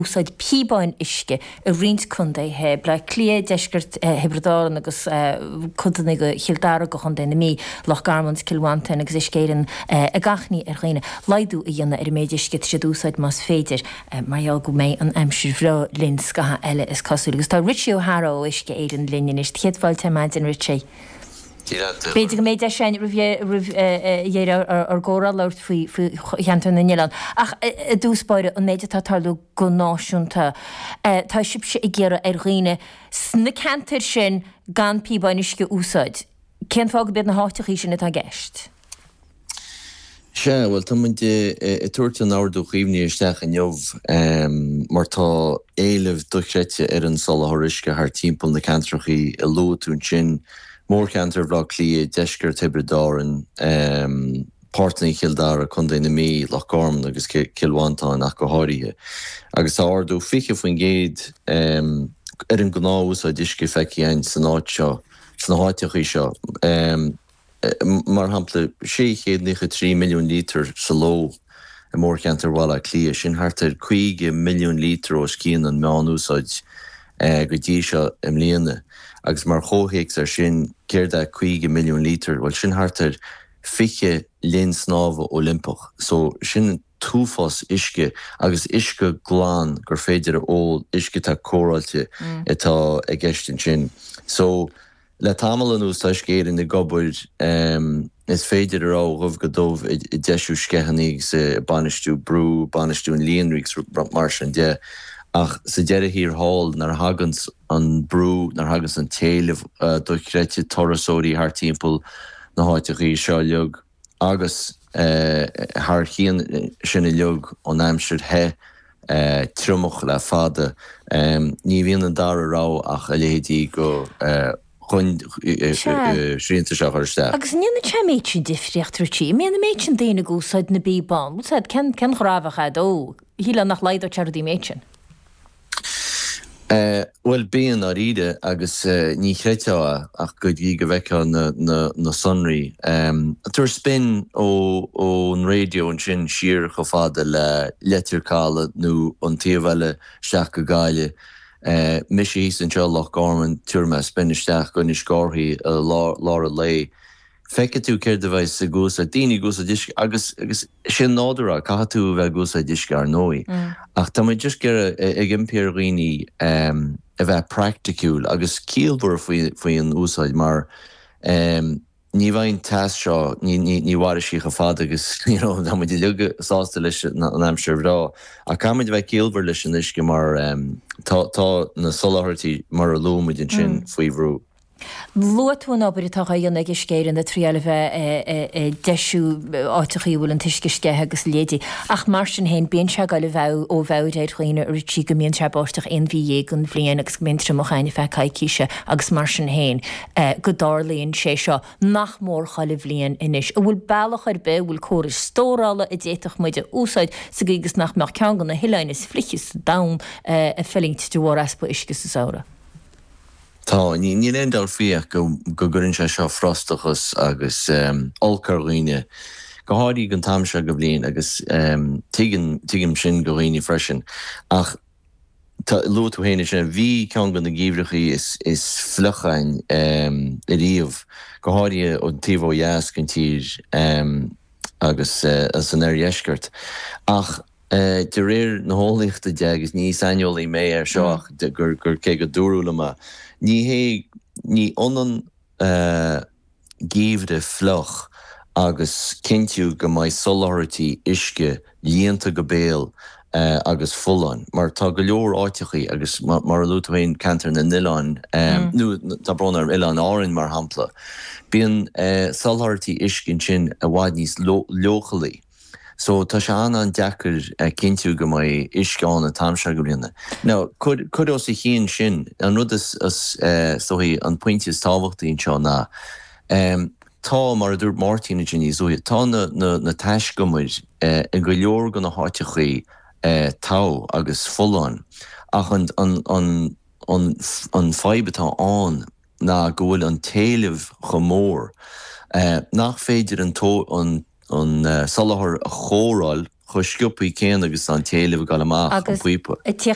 Úsáid píobáin uisce i roinnt contaetha, Baile Átha Cliath, deisceart Thiobraid Árann agus codanna de Chill Dara go Chontae na Mí, Loch Garman agus Cill Mhantáin agus Uisce Éireann ag achainí ar dhaoine laghdú a dhéanamh ar an méid uisce atá siad a úsáid más féidir mar gheall go mbeidh an aimsir bhreá linn scaitheamh eile is cosúil. Agus tá Richie O'Hara ó Uisce Éireann linn anois. Céad fáilte ar maidin Richie. B'fhéidir go mbeidh deis againn roimh dheireadh ár gcomhrá labhairt faoi cheantar na n-oileán. Ach i dtús báire, an méid atá ag tarlú go náisiúnta, tá sibhse ag iarraidh ar dhaoine sna ceantair sin gan píobáin uisce a úsáid. Cén fáth gurb iad na háiteachaí sin atá i gceist? Sea, bhuel, tá muid ag tabhairt an Ordú Cuimhne isteach inniu mar tá éileamh dochreidte ar an soláthar uisce thart timpeall na ceantrachaí a luaigh tú ansin, mórcheantar Bhaile Átha Cliath, deisceart Thiobraid Árann, páirteanna Chill Dara, Contae na Mí, Loch Garman agus Cill Mhantáin ach go háirithe. Agus tá ardú 20% ar an ngnáth-úsáid uisce feicthe againn san áit seo, sna háiteachaí seo. Mar shampla, 693 milliún lítear sa ló i mórcheantar Bhaile Átha Cliath, sin thart ar 50 milliún lítear os cionn an meán-úsáid go dtí seo i mbliana. Agus mar chomhthéacs air sin, céard é 50 milliún lítear? Bhuel, sin thart ar 20 linn snámha Oilimpeach. So, sin t-uafás uisce, agus uisce glan gur féidir a ól, uisce atá cóireáilte atá i gceist ansin. So. Le tamall anuas tá Uisce Éireann ag obair, is féidir a rá, ó dhubh go dubh ag deisiú sceitheanna agus ag bainistiú brú, bainistiú an líonraí agus mar sin de. Ach sa deireadh thiar thall, nuair a thaganns an brú, nuair a thaganns an t-éileamh dochreidte turasóirí thart timpeall na háiteachaí seo uilig, agus thar chionn sin uilig an aimsir the, triomach le fada, ní bhíonn an dara rogha ach a leithéidí go srianta seo a chur isteach. Agus an ndéanann sé an méid sin difríocht, Richie? An mbíonn an méid sin daoine ag úsáid na bpíobán? Bhfuil fhios agat, cén ghrá a bheadh a'd? Ó, shílfeá nach laghdódh sé rudaí an méid sin. Bhuel, bíonn, dáiríre, agus ní chreidfeá é ach go dtí go bhfeicfeá na sonraí. Tabhair spin ón raidió ansin siar chomh fada le Leitir Caladh nó an taobh eile isteach go Gaillimh. Mise thíos anseo i Loch Garman, tabharfaidh mé spin isteach go Inis Córthaidh i lár an lae. Feicfidh tú céard a bheas ag úsáid, daoine ag úsáid uisce agus agus sé nádúr é, caithfidh tú a bheith ag úsáid uisce ar ndóigh. Ach tá muid just ag iarraidh, ag impí ar dhaoine a bheith praiticiúil agus ciallmhar faoi faoi an úsáid mar ní bheidh an teas seo, ní ní ní mhairfidh sí chomh fada agus you know tá muid uilig sásta leis an aimsir bhreá ach caithfidh muid a bheith ciallmhar leis an uisce mar tá tá na soláthairtí mar a luaigh muid ansin faoi bhrú. Luaigh tú an obair atá á dhéanamh ag Uisce Éireann ag triail a bheith ag deisiú áiteachaí a bhfuil an t-uisce sceithe agus a leithéidí. Ach mar sin féin, bíonn sé ag dul ó mheabhair ar dhaoine, a Richie, go mbíonn sé ag báisteach aon mhí dhéag den bhliain agus go mbíonn triomach ann ar feadh coicíse agus mar sin féin go dtarlaíonn sé seo nach mór chuile bhliain anois. An bhfuil bealach ar bith, an bhfuil córais stórála a d'fhéadfadh muid a úsáid sa gcaoi agus nach mbeadh ceann de na hoileáin is fliche sa domhan ag fulaingt de bharr easpa uisce sa samhradh? Tá. Níl aon dabht faoi ach go gcuireann sé seo frustrachas agus olc ar dhaoine, go háirithe ag an t-am seo de bhliain agus tuigim, tuigim sin do dhaoine freisin. Ach tá, luaigh tú féin ansin, bhí ceann de na geimhreachaí is, is fliuch againn ariamh, go háirithe an taobh ó dheas den tír agus san oirdheisceart. Ach. De réir na heolaíochta de, agus ní saineolaí mé air seo ach gur cé go dúradh liom é, ní hé, ní ionann geimhreadh fliuch agus cinntiú go mbeidh soláthairtí uisce líonta go béal agus folláin, mar tá go leor áiteachaí agus mar a luaigh tú féin, ceantar na n-oileán, nó tá brón orm, Oileáin Árainn mar shampla, bíonn soláthairtí uisce ansin i bhfad níos leochailí. So tá sé an-an-deacair cinntiú go mbeidh uisce ann an t-am seo de bhliana. Now, cuir, cuir os a chionn sin, an rud is, is dóichí, an pointe is tábhachtaí anseo ná, tá, mar a dúirt Máirtín ansin níos luaithe, tá na, na, na taiscumair i go leor de na háiteachaí togha agus folláin ach an, an, an, an, an fadhb atá ann, ná go bhfuil an t-éileamh chomh mór nach féidir an soláthar a chóireáil. chomh sciobthaí céanna agus tá an t-éileamh ag dul amach an Agus píopa. ag tíocht.